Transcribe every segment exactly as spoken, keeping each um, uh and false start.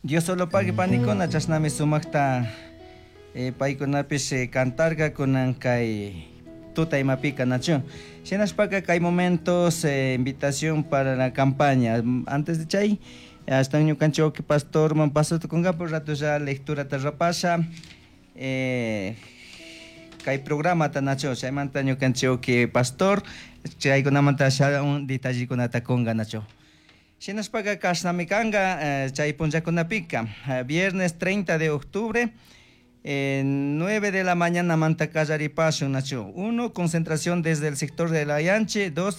Dios solo pague panikuna chashnami sumaqta eh, paykunapish eh, cantarka kunan kay tuta imapika nachu. Shinashpaka kay momentos eh, invitación para la campaña. Antes de chay hasta ñukanchik pastor man paso tukunga por rato ya lectura tarrapasha eh, kay programa tanacho chaymanta ñukanchik pastor chaykunamanta un detallekunata kunga nacho. Shinashpaka kashnami kanga eh, chay punllakunapika eh, viernes treinta de octubre eh, nueve de la mañana manta kallaripashun nacho. Uno, concentración desde el sector de la Yanche. Dos,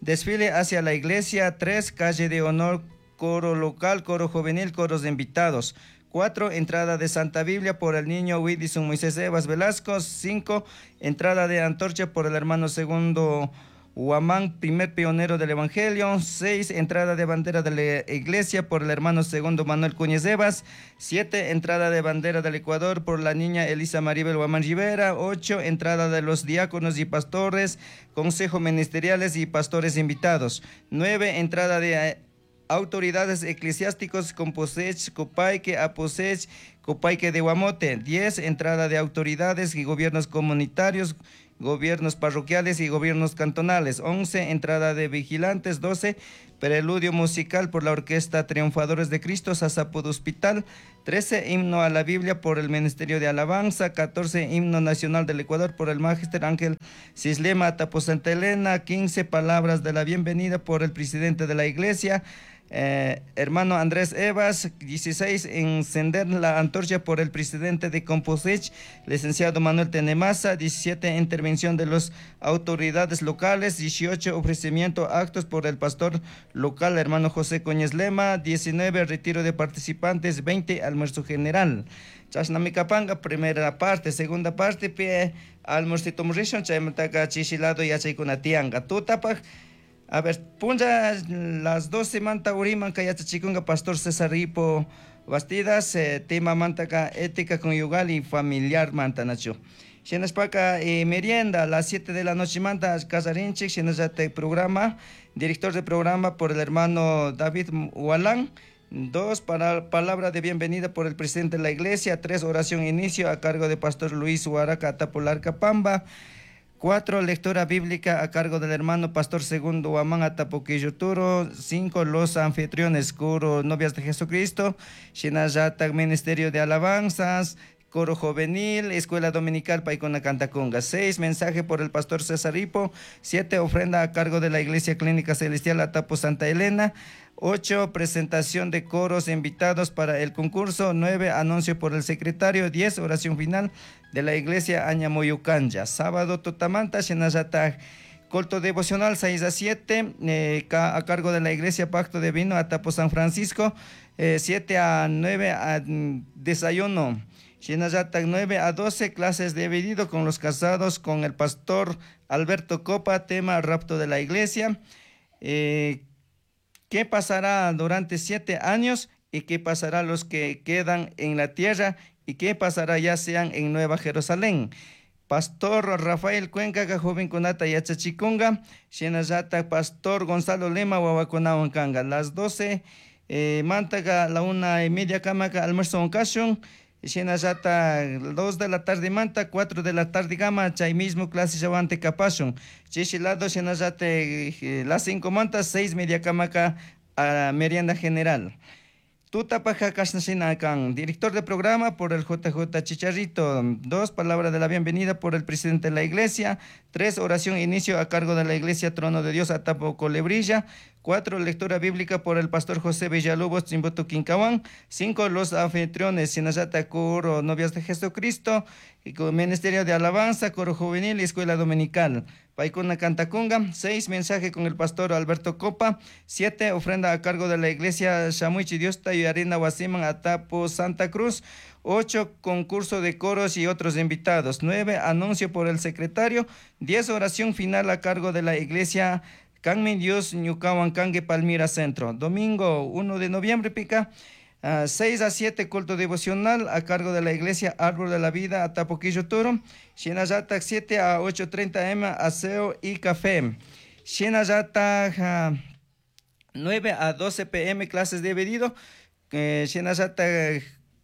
desfile hacia la iglesia. Tres, calle de honor, coro local, coro juvenil, coros de invitados. Cuatro, entrada de Santa Biblia por el niño Widison Moisés Evas Velasco. Cinco, entrada de antorcha por el hermano segundo Huamán, primer pionero del Evangelio. Seis, entrada de bandera de la iglesia por el hermano segundo Manuel Cuñez Evas. Siete, entrada de bandera del Ecuador por la niña Elisa Maribel Huamán Rivera. Ocho, entrada de los diáconos y pastores, consejo ministeriales y pastores invitados. Nueve, entrada de autoridades eclesiásticos Composech, Copaique, Aposech, Copaique de Guamote. Diez, entrada de autoridades y gobiernos comunitarios, gobiernos parroquiales y gobiernos cantonales. Once, entrada de vigilantes. Doce, preludio musical por la Orquesta Triunfadores de Cristo, Sasapud Hospital. Trece, himno a la Biblia por el Ministerio de Alabanza. Catorce, himno nacional del Ecuador por el Magister Ángel Cislema Tapo Santa Elena. Quince, palabras de la bienvenida por el presidente de la iglesia, Eh, hermano Andrés Evas. Dieciséis, encender la antorcha por el presidente de Composech, licenciado Manuel Tenemaza. Diecisiete, intervención de las autoridades locales. Dieciocho, ofrecimiento actos por el pastor local, hermano José Coñez Lema. Diecinueve, retiro de participantes. Veinte, almuerzo general. Chashnamikapanga, primera parte, segunda parte, pie almuercito murishun, chaymantaka chishilado yachaykuna tiyanka. Tutapaj, a ver, punlla las doce manta uriman kayachachikunga pastor César Ripo Bastidas, eh, tema mantaka ética conyugal y familiar manta nacho. Shinashpaka eh, merienda a las siete de la noche manta casarinchik, shinashate programa, director de programa por el hermano David Hualán. Dos, para, palabra de bienvenida por el presidente de la iglesia. Tres, oración inicio a cargo de pastor Luis Huaraca Atapolarca Pamba. Cuatro, lectura bíblica a cargo del hermano pastor segundo Huamán Atapoquillo Turo. Cinco, los anfitriones, coro Novias de Jesucristo, Shinayata, Ministerio de Alabanzas, coro juvenil, Escuela Dominical Paicona Cantacunga. Seis, mensaje por el pastor César Hipo. Siete, ofrenda a cargo de la Iglesia Clínica Celestial Atapo Santa Elena. Ocho, presentación de coros invitados para el concurso. Nueve, anuncio por el secretario. Diez, oración final de la iglesia Añamoyucanya. Sábado, Totamanta, Shinayata, culto devocional seis a siete, eh, a cargo de la iglesia Pacto de Vino, Atapo San Francisco. Eh, siete a nueve, a, desayuno. Shinayata, nueve a doce, clases dividido con los casados con el pastor Alberto Copa, tema rapto de la iglesia. Eh, ¿Qué pasará durante siete años? ¿Y qué pasará los que quedan en la tierra? ¿Y qué pasará ya sean en Nueva Jerusalén? Pastor Rafael Cuenca, joven kunata yachachikunga, Shinayata, Pastor Gonzalo Lema, wawakunawan kanga. Las doce, eh, mantaga, la una y media kamaka, almuerzo oncashun. Shinayata, dos de la tarde manta, cuatro de la tarde gama, chay mismo clase yawante kapashun. Chishilado, shinayata, eh, las cinco manta, seis media kamaka, a merienda general. Tutapaja Kashnashinakan, director de programa por el J J Chicharrito. Dos, palabra de la bienvenida por el presidente de la iglesia. Tres, oración inicio a cargo de la iglesia Trono de Dios Atapo Colebrilla. Cuatro, lectura bíblica por el pastor José Villalobos Chimboto Quincahuán. Cinco, los anfitriones, Sinayata, coro Novias de Jesucristo, y con Ministerio de Alabanza, coro juvenil y escuela dominical. Paicuna Cantacunga. Seis, mensaje con el pastor Alberto Copa. Siete, ofrenda a cargo de la iglesia Shamuichi Diosta y Arena Huasiman Atapo Santa Cruz. Ocho, concurso de coros y otros invitados. Nueve, anuncio por el secretario. Diez, oración final a cargo de la iglesia Canmen Dios Ñucahuan Cangue Palmira Centro. Domingo uno de noviembre, pica. Uh, seis a siete, culto devocional a cargo de la iglesia Árbol de la Vida, Atapoquillo Turo. Shinayata, siete a ocho treinta M, aseo y café. Shinayata, uh, nueve a doce P M, clases de pedido. Eh, shinallata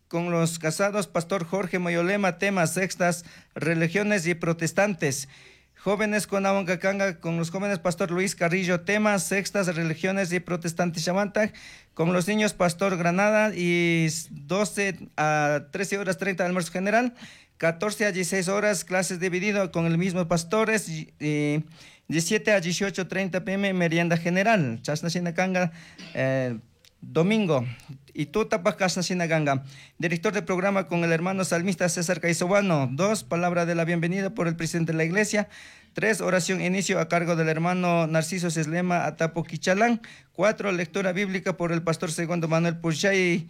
con los casados, Pastor Jorge Moyolema, tema sextas, religiones y protestantes. Jóvenes con Canga, con los jóvenes Pastor Luis Carrillo, tema sextas, religiones y protestantes Chamantaj, con los niños Pastor Granada y doce a trece horas treinta almuerzo general, catorce a dieciséis horas clases dividido con el mismo pastores y, y diecisiete a dieciocho treinta P M merienda general. Chasna Shinakanga, eh, domingo. Y tú tapas Casna Sinaganga. Director de programa con el hermano salmista César Caisobano. Dos, palabra de la bienvenida por el presidente de la iglesia. Tres, oración inicio a cargo del hermano Narciso Seslema Atapo Quichalán. Cuatro, lectura bíblica por el pastor segundo Manuel Puchay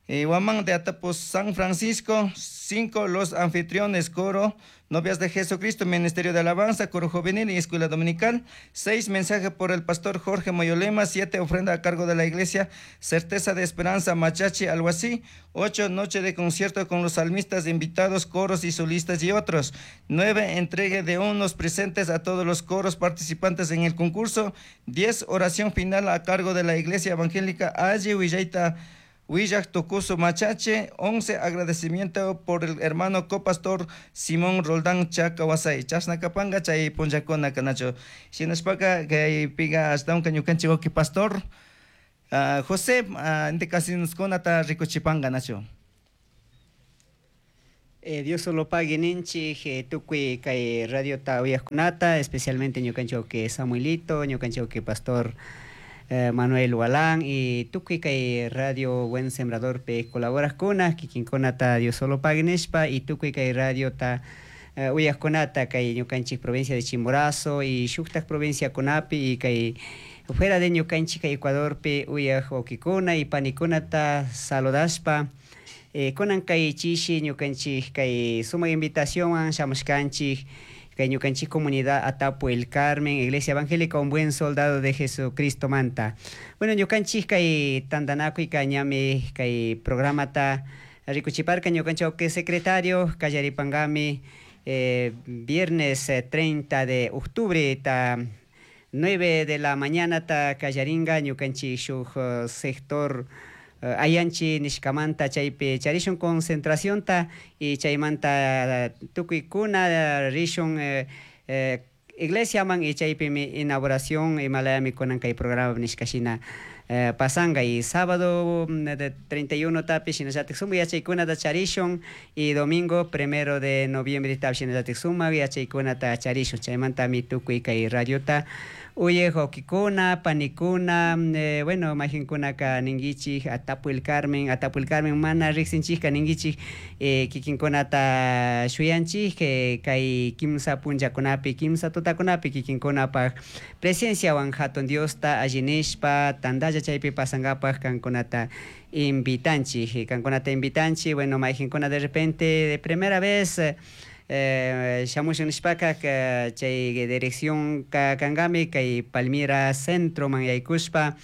eh, Huamán de Atapo San Francisco. Cinco, los anfitriones, coro, novias de Jesucristo, Ministerio de Alabanza, coro juvenil y escuela dominical. Seis, mensaje por el pastor Jorge Moyolema. Siete, ofrenda a cargo de la iglesia Certeza de Esperanza, Machachi, algo así. Ocho, noche de concierto con los salmistas, invitados, coros y solistas y otros. Nueve, entregue de unos presentes a todos los coros participantes en el concurso. Diez, oración final a cargo de la iglesia evangélica Ayi Huillaita Huillac Tocuso Machache. Once, agradecimiento por el hermano copastor Simón Roldán Chacahuasay. Chasna Capanga, Chay Punchacona, Canacho. Shinashpaca, que piga hasta un cañucanchi oki pastor uh, José, uh, indicaciones ta ricuchipanga, Nacho. Eh, Dios solo pague ninchi, tukui kay radio ta uyajkunata, especialmente ñukancho que Samuelito, ñukancho que pastor Eh, Manuel Hualán y tukuy kay radio Buen Sembrador pe colaboras kuna kikinkunata Dios solo pague nishpa y tukuy kay radio ta uh, uyajkunata kay ñukanchik provincia de Chimborazo y shuktak provincia kunapi y kay fuera de ñukanchik Ecuador pe uyaj okikuna y panikunata saludashpa eh, kunan kay chishi ñukanchik kay suma invitación shamushkanchik kay ñukanchik comunidad Atapo El Carmen, Iglesia Evangélica Un Buen Soldado de Jesucristo Manta. Bueno, ñukanchik kay tandanakuy kañami kay programa ta rikuchiparka ñukanchik que secretario kallaripangami eh, viernes treinta de octubre ta nueve de la mañana ta kallaringa ñukanchik shuk uh, sector Uh, ayanchi nishkamanta chaypi charishun concentración ta y chaymanta tukuykuna rishun eh, eh, iglesia man y chaypimi inauguración imalayami kunan kay programa nishkashina eh, pasanga y sábado de treinta y uno tapi shinallatik suma yachaykunata charishun y domingo primero de noviembre tapi shinallatik suma yachaykunata charishun chaymantami tukuy kay radiota uye hokikuna, panikuna, eh, bueno, majinkuna ka ningichik, Atapo El Carmen, Atapo El Carmen, mana riksinchik ka ningichik, eh, kikinkunata shuyanchik, eh, kay kimsa punllakunapi, kimsa tutakunapi, kikinkunapaj presenciawan hatun Diosta allinishpa, tandalla chaypi pasangapaj kankunata invitanchik, kankunata invitanchik, bueno, majinkuna de repente, de primera vez, Eh, shamushun nishpaka chay dirección ka kangami kay Palmira Centro man yaykushpa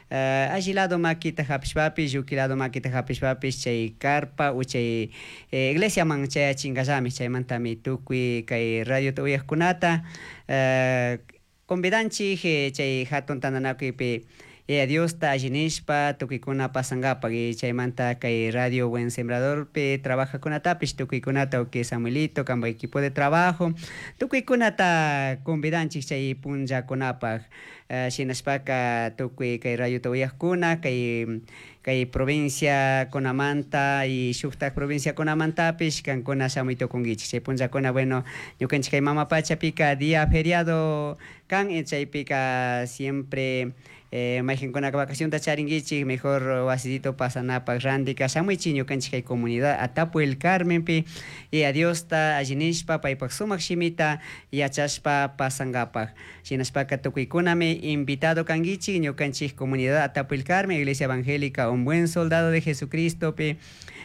eh, alli lado makita hapishpapish lluki lado makita hapishpapish chay carpa u chay eh, iglesia man chayachingallami chaymantami tukuy kay radio uyajkunata eh, convidanchik eh, chay hatun tandanakuypi eh, Diosta allinishpa tukuykuna pasangapaq y chaymanta kay radio Buen Sembrador pe trabajakunatapish tukuykunata uki Samuelito kampa equipo de trabajo tukuykunata convidanchik chay punllakunapaq uh, shinashpaka tukuy kay radiota uyajkuna kay kay provincia kunamanta y shuktak provincia kunamantapish kankuna shamuy tukunkichik chay punllakuna bueno ñukanchik kay mama pachapika día feriado kan chaypika siempre Eh, mayqinkunaka vacacionta charinkichik mejor wasitito pasanapaq randika shamuichik ñukanchik kay comunidad Atapo El Carmenpi y a Diosta allinishpa paypaq sumaq shimita yachashpa pasangapaq shinashpaka tukuykunami invitado kankichik ñukanchik comunidad Atapo El Carmen Iglesia Evangélica Un Buen Soldado de Jesucristo pi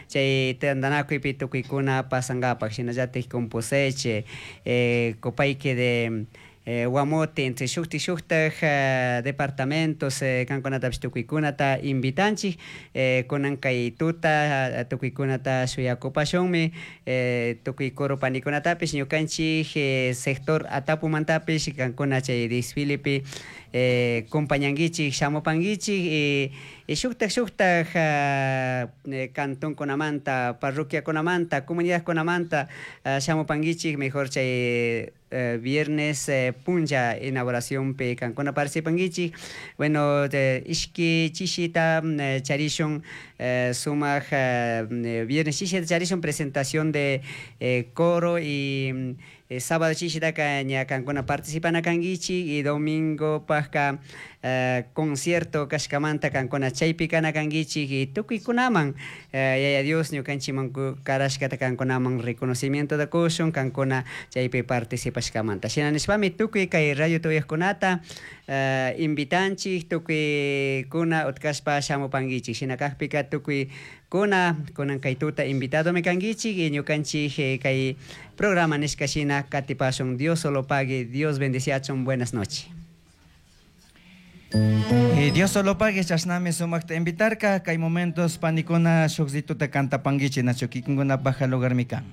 chay tandanakuypi tukuykuna pasangapaq shinallatik Composeche eh, Copaique de Eh, Guamote, entre shukti shuktaj uh, departamentos eh, kankunatapish tukuykunata invitanchik eh, kunan kay tuta uh, tukuykunata shuyakupashunmi eh, tukuy coro panikunatapish ñukanchik eh, sector Atapumantapish kankuna chay desfilepi eh, compañanguichik shamupanguichik y, y shuktak shuktak uh, cantonkunamanta parroquiakunamanta comunidadkunamanta uh, shamupanguichik mejor chay uh, viernes eh, punlla inauguracionpi kankuna participanguichik. Bueno, de, ishki chishita eh, charishun eh, sumak eh, viernes chishita charishun presentación de eh, coro y eh, sábado chishitaka ña kankuna participana kanguichik y domingo pajka eh, concierto kashkamanta kankuna chaypi kana kanguichik y tukuykunaman eh, yaya Dios ñukanchikman karashkata kankunaman reconocimiento da kushun kankuna chaypi participashkamanta. Shina nishpami tukuy kay radio tuyajkunata eh, invitanchik tukuykuna utkashpa shamupanguichik. Shina kakpika tukuy kuna kunan kay tuta invitadomi kanguichik y ñukanchik eh, kay programa nishka shina katipashun. Dios solo pague, Dios bendeciachun, buenas noches. Eh, Dios solo pague, chashnami sumakta invitarka, kay momentos panikuna shukzituta cantapanguichi nacho kikinkuna baja lugar mi kan.